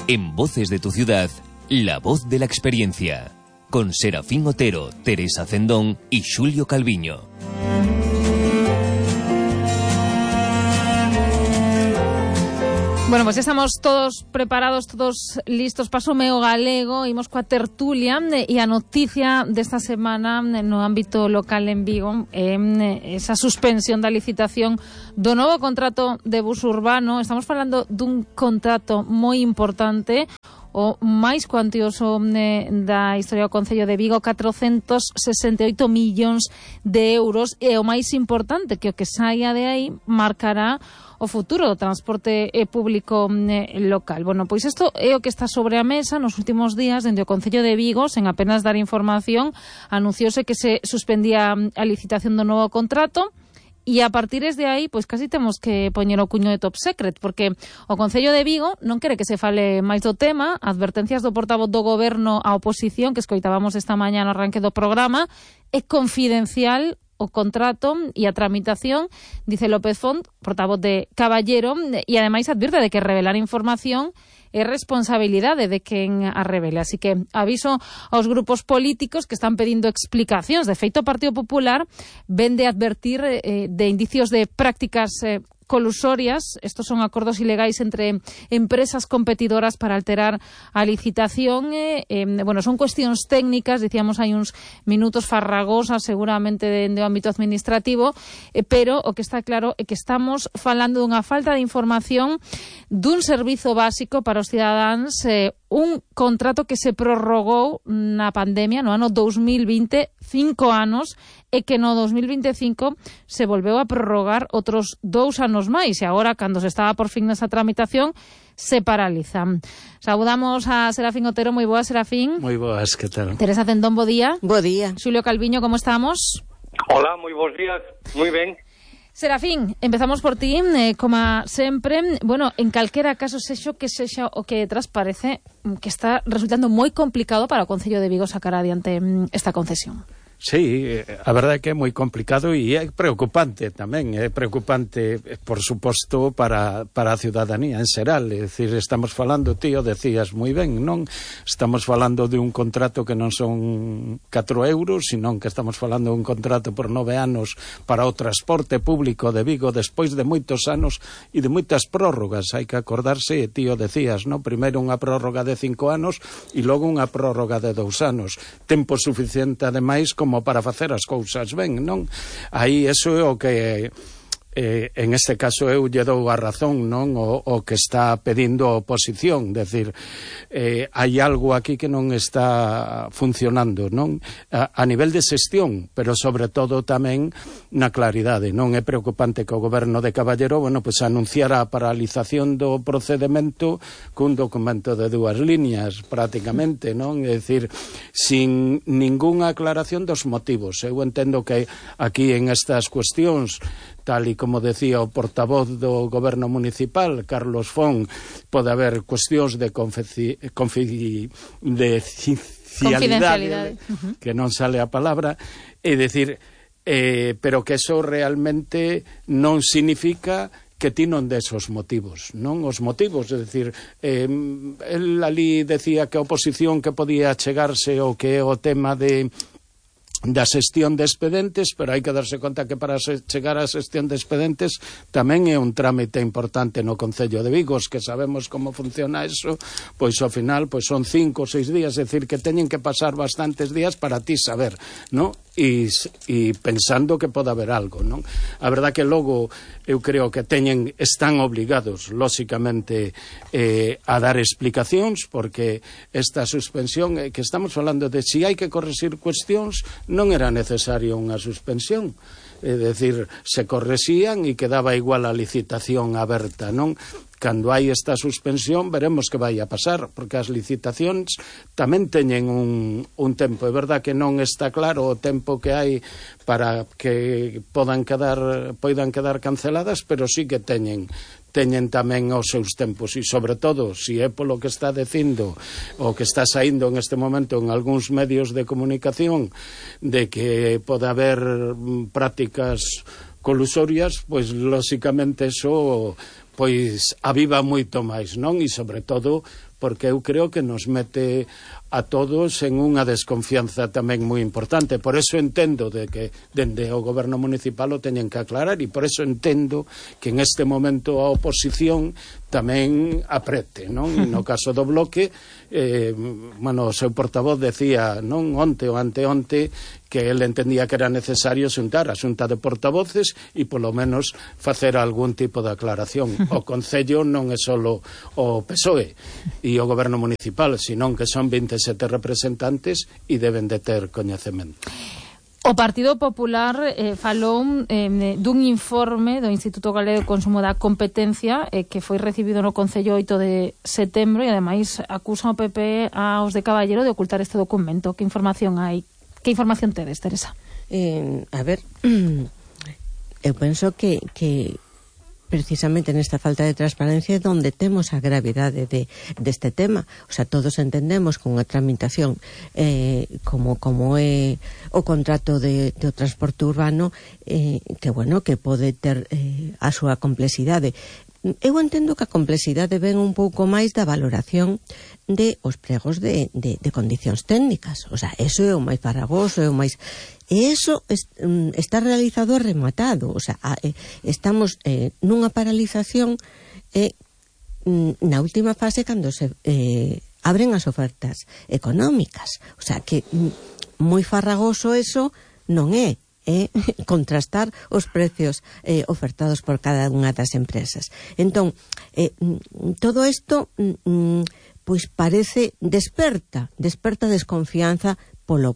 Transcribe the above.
En Voces de tu Ciudad, la voz de la experiencia. Con Serafín Otero, Teresa Cendón y Xulio Calviño. Bueno, pues estamos todos preparados, todos listos. Paso o galego, imos coa tertulia e a noticia desta semana no ámbito local en Vigo esa suspensión da licitación do novo contrato de bus urbano. Estamos falando dun contrato moi importante, o máis cuantioso da historia do Concello de Vigo, 468 millóns de euros, e o máis importante, que o que saia de aí marcará o futuro do transporte público local. Bueno, pois isto é o que está sobre a mesa. Nos últimos días, dende o Concello de Vigo, sen apenas dar información, anunciouse que se suspendía a licitación do novo contrato. E a partir de aí, pois casi temos que poñer o cuño de top secret, porque o Concello de Vigo non quere que se fale máis do tema. Advertencias do portavoz do Goberno á oposición, que escoitábamos esta mañá no arranque do programa, é confidencial o contrato e a tramitación, dice López Font, portavoz de Caballero, e ademais advirte de que revelar información é responsabilidade de quen a revele. Así que aviso aos grupos políticos que están pedindo explicacións. De feito, o Partido Popular ven de advertir de indicios de prácticas colusorias. Estos son acordos ilegais entre empresas competidoras para alterar a licitación. Bueno, son cuestións técnicas, dicíamos hai uns minutos, farragosas seguramente do ámbito administrativo, pero o que está claro é que estamos falando dunha falta de información dun servizo básico para os cidadáns, un contrato que se prorrogou na pandemia no ano 2020, 5 anos, e que no 2025 se volveu a prorrogar outros 2 anos máis, e agora, cando se estaba por fin nesa tramitación, se paraliza. Saudamos a Serafín Otero. Moi boas, Serafín. Moi boas, que tal? Teresa Cendón, bo día. Bo día. Xulio Calviño, como estamos? Hola, moi bons días. Moi ben. Serafín, empezamos por ti, como sempre. Bueno, en calquera caso, sexo que sexa o que detrás, parece que está resultando moi complicado para o Concello de Vigo sacar adiante esta concesión. Sí, a verdade é que é moi complicado e é preocupante tamén, é preocupante, por suposto, para a ciudadanía en xeral. É dicir, estamos falando, tío, decías moi ben, non? Estamos falando de un contrato que non son 4 euros, senón que estamos falando de un contrato por 9 anos para o transporte público de Vigo, despois de moitos anos e de moitas prórrogas. Hai que acordarse, tío, decías, non? Primeiro unha prórroga de 5 anos e logo unha prórroga de 2 anos. Tempo suficiente, ademais, como para facer as cousas ben, non? Aí, eso é o que en este caso eu lle dou a razón, non? O que está pedindo a oposición, decir, hai algo aquí que non está funcionando, non? A nivel de xestión, pero sobre todo tamén na claridade, non? É preocupante que o Goberno de Caballero, bueno, pues anunciara a paralización do procedemento cun documento de 2 líneas, prácticamente, non? É dicir, sin ningunha aclaración dos motivos. Eu entendo que aquí en estas cuestións, tal e como decía o portavoz do Goberno Municipal, Carlos Font, pode haber cuestións de confidencialidade, que non sale a palabra, é dicir, pero que eso realmente non significa que ti non des os motivos, non? Os motivos, é dicir, el ali decía que a oposición que podía chegarse o que é o tema da xestión de expedentes, pero hai que darse conta que para chegar á xestión de expedentes tamén é un trámite importante no Concello de Vigo, que sabemos como funciona eso, pois ao final pois son 5 ou 6 días, é dicir, que teñen que pasar bastantes días para ti saber, non? E pensando que pode haber algo, non? A verdade que logo eu creo que están obligados, lóxicamente, a dar explicacións, porque esta suspensión, que estamos falando de si hai que corrixir cuestións, non era necesario unha suspensión. É dicir, se correxían e quedaba igual a licitación aberta, non? Cando hai esta suspensión veremos que vai a pasar, porque as licitacións tamén teñen un tempo. É verdad que non está claro o tempo que hai para que poidan quedar canceladas, pero sí que teñen tamén os seus tempos, e sobre todo, se é polo que está dicindo o que está saindo en este momento en algúns medios de comunicación, de que pode haber prácticas colusorias, pois lóxicamente eso pois aviva moito máis, non? E sobre todo porque eu creo que nos mete a todos en unha desconfianza tamén moi importante. Por eso entendo de que dende o goberno municipal o teñen que aclarar, e por eso entendo que en este momento a oposición tamén aprete, non? No caso do Bloque, o seu portavoz decía, non, onte ou anteonte, que ele entendía que era necesario xuntar a xunta de portavoces e polo menos facer algún tipo de aclaración. O Concello non é só o PSOE e o goberno municipal, senón que son 27 representantes e deben de ter coñecemento. O Partido Popular falou dun informe do Instituto Galego de Consumo da Competencia que foi recibido no Concello 8 de setembro e ademais acusa o PP aos de Caballero de ocultar este documento. Que información hai? Que información tedes, Teresa? A ver, eu penso que precisamente nesta falta de transparencia é onde temos a gravidade deste tema. O sea, todos entendemos que unha tramitación como é o contrato do transporte urbano que pode ter a súa complexidade. Eu entendo que a complexidade ven un pouco máis da valoración de os pregos de condicións técnicas. O sea, eso é o máis farragoso, é o máis... E eso está realizado e rematado. O sea, estamos nunha paralización na última fase cando se abren as ofertas económicas. O sea, que moi farragoso eso non é. Contrastar os precios ofertados por cada unha das empresas. Entón, todo isto pois parece desperta desconfianza polo